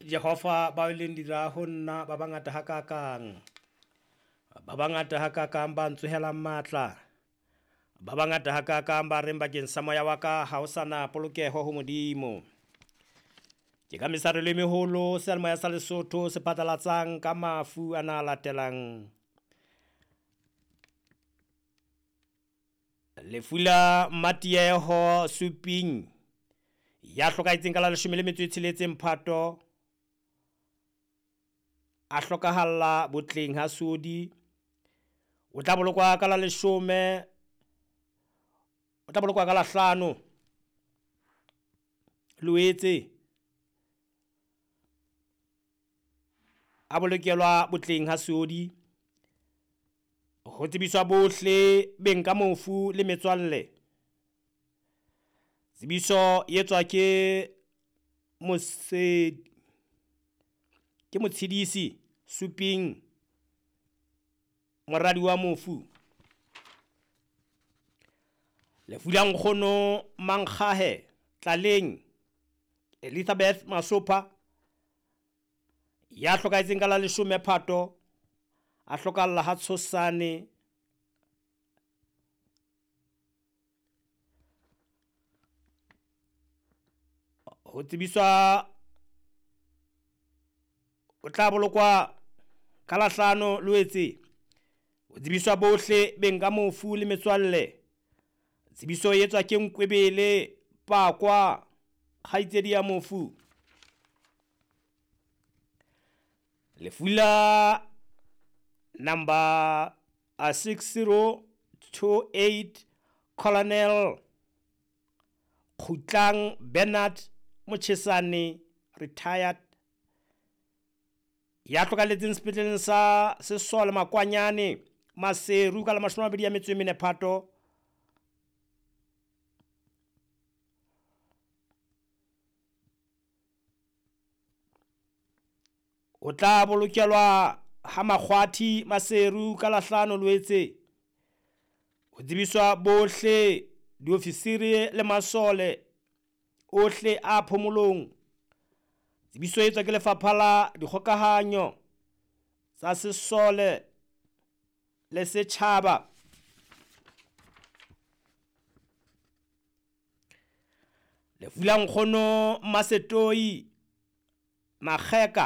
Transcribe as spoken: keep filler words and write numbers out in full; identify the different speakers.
Speaker 1: Jehova bao e leng dira ho nna ba bangata hakakang. Ba bangata hakakang ba ntsohelang matla. Ba bangata hakakang ba reng bakeng sa moya wa ka ha ho sa na polokeho ho Modimo. Ke ka mesarelo e meholo seyalemoya sa Lesotho se phatlalatsang ka mafu ana a latelang. Lefu la Mmatieho Suping ya hlokahetseng ka la leshome le metso e tsheletseng Phato, a hlokahalla botleng ha Sodi. O tla bolokwa ka la leshome, o tla bolokwa ka la hlano Loetse, a bolokelwa botleng ha Sodi. Ho tsebiswa bohle beng ka mofu le metswalle. Tsebiso e etswa ke mose ke motshedisi Suping, moradi wa mofu. Lefu la nkgono Mankgahe Tlaleng Elizabeth Masopha ya hlokahetseng ka la leshome Phato, a hlokahalla ha Tshosane. Ho tsebiswa o tla bolokwa ka la hlano Loetse. Ho tsebiswa bohle beng ka mofu le metswalle. Tsebiso e etswa ke Nkwebele Pakwa, kgaitsedi ya mofu. Lefu la number six zero two eight Colonel Kgutlang Bernard Mochesane, retired, ya hlokahalletseng sepetleleng sa Sesole Makwanyane Maseru ka la mashome a mabedi a metso e mene Phato. O tla bolokelwa ha Makgwathi Maseru ka la hlano Loetse. Ho tsebiswa bohle diofisiri le masole ohle a phomolong. Tsebiso e etswa ke Lefapha la Dikgokahanyo tsa Sesole le Setjhaba. Lefu la nkgono Mmasetoi Makgeka